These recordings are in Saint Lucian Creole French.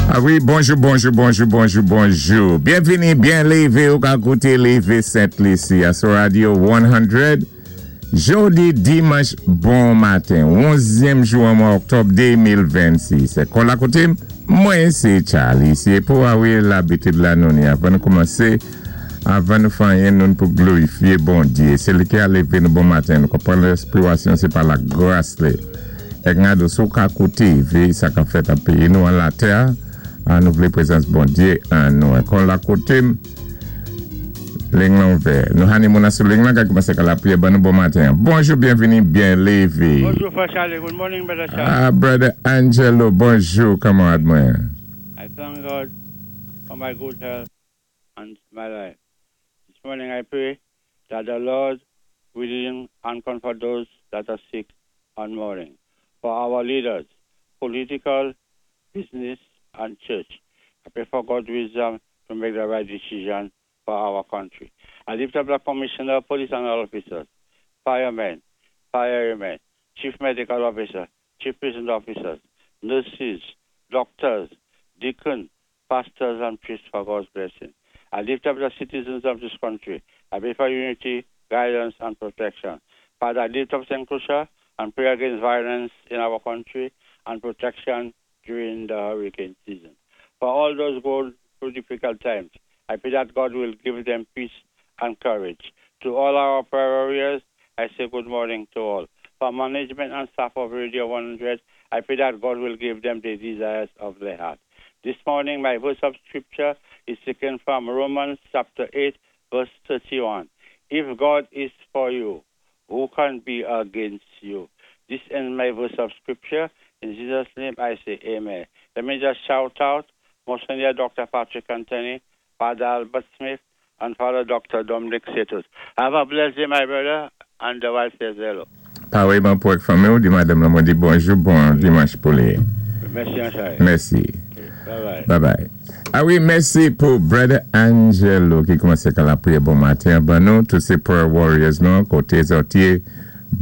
A wi, bonjou, bonjou, bonjou, bonjou, bonjou. Byenvini, byen lévé ou ka kouté Lévé Sent Lisi a sou Radio 100. Jodi dimanch bon maten, 11zyèm jou an mwa oktòb 2026. Kò la koté, mwen sé Charlie. Si pou a wi labitid la nou ni avan nou koumansé, avan nou fè anyen nou pou glorifié Bondyé. Sé li ki a lévé nou bon maten. Nou konprann respirasyon sé pa la gras li. Èk ngado si ou ka kouté véyé sa ka fèt an péyi nou an latè a nou vlé prezans Bondyé an nou. Èk on la koté m ling lan ouvè. Nou hani moun an sou ling lan ka koumansé ka lapriyè ban nou bon maten an. Bonjou byenvini byen lévé. Bonjou frè Charlie, good morning brother Charlie. Ah brother Angelo bonjou kanmarad mwen. I thank God for my good health and my life. This morning I pray that the Lord will heal and comfort those that are sick and mourning. For our leaders, political, business, and church, I pray for God's wisdom to make the right decision for our country. I lift up the commissioner, police and all officers, firemen, firewomen, chief medical officer, chief prison officers, nurses, doctors, deacons, pastors and priests for God's blessing. I lift up the citizens of this country. I pray for unity, guidance, and protection. Father, I lift up St. Lucia and pray against violence in our country and protection during the hurricane season. For all those going through difficult times, I pray that God will give them peace and courage. To all our prayer warriors, I say good morning to all. For management and staff of Radio 100, I pray that God will give them the desires of their heart. This morning, my verse of scripture is taken from Romans chapter 8, verse 31. If God is for you, who can be against you? This ends my verse of scripture. In Jesus' name, I say amen. Let me just shout out Monsignor Dr. Patrick Anthony, Father Albert Smith, and Father Dr. Dominic Setos. Have a blessed day, my brother, and the wife says hello. Paréyman pou èk fanmi ou, di madanm lan mwen di bonjou, bon dimanch pou li. Mèsi anchayè. Mèsi. Bye bye. Bye bye. A wi, mèsi pou brother Angelo ki koumansé ka lapriyè bon maten ban nou, tout sé prayer warriors nou, koté zòt yé,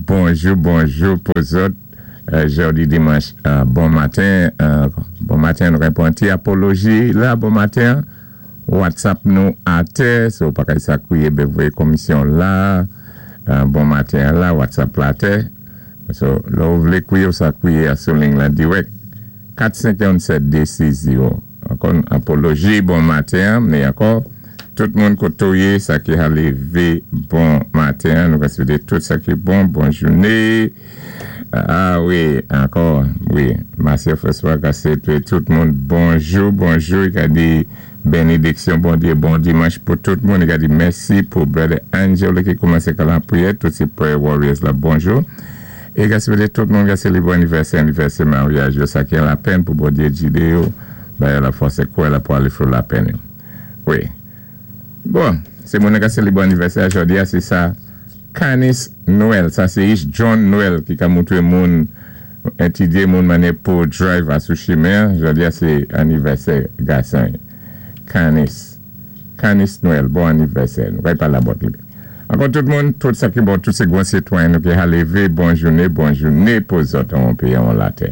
bonjou, bonjou pou zòt, jodi dimanch bon maten, bon maten nou ka pran ti apoloji la bon maten, WhatsApp nou atè, si ou pa ka sa kwiye be voyé komisyon la, bon maten la, WhatsApp la atè, so lò ou vlé kwiye ou sa kwiye a sou ling la dirèk, 457 260, ankò apoloji bon maten, mé ankò, tout moun koto yé, sa ki a lévé bon maten, nou ka swété tout sa ki bon, bon jouné, a wi, ankò, wi, Marcel François ka swété tout moun bonjou, bonjou, i ka di benediksyon Bondyé, bon dimanch pou tout moun, i ka di mèsi pou brother Angelo ki koumansé ka lapriyè, tout sé prayer warriors la, bonjou, é ka swété tout moun ka sélébwé anivèsè, anivèsè maryaj yo, sa ki an lapenn pou Bondyé jidé yo, ba yo lafòs é kouwè la pou alé fò lapenn yo. Wi. Bon, sé moun ka sélébwé anivèsè jòdi a, sé sa Canis Noel, sa sé ich John Noel ki ka moutwé moun étidyé moun mannyè pou drive a sou chimen, jòdi a sé anivèsè gasan. Canis. Canis Noel, bon anivèsè. Nou kay pala bòt li. Ankò tout moun, tout sa ki bon, tout sé gwan sitwayen nou ki ha lévé, bon jouné, bon jouné pou zòt an péyi an latè.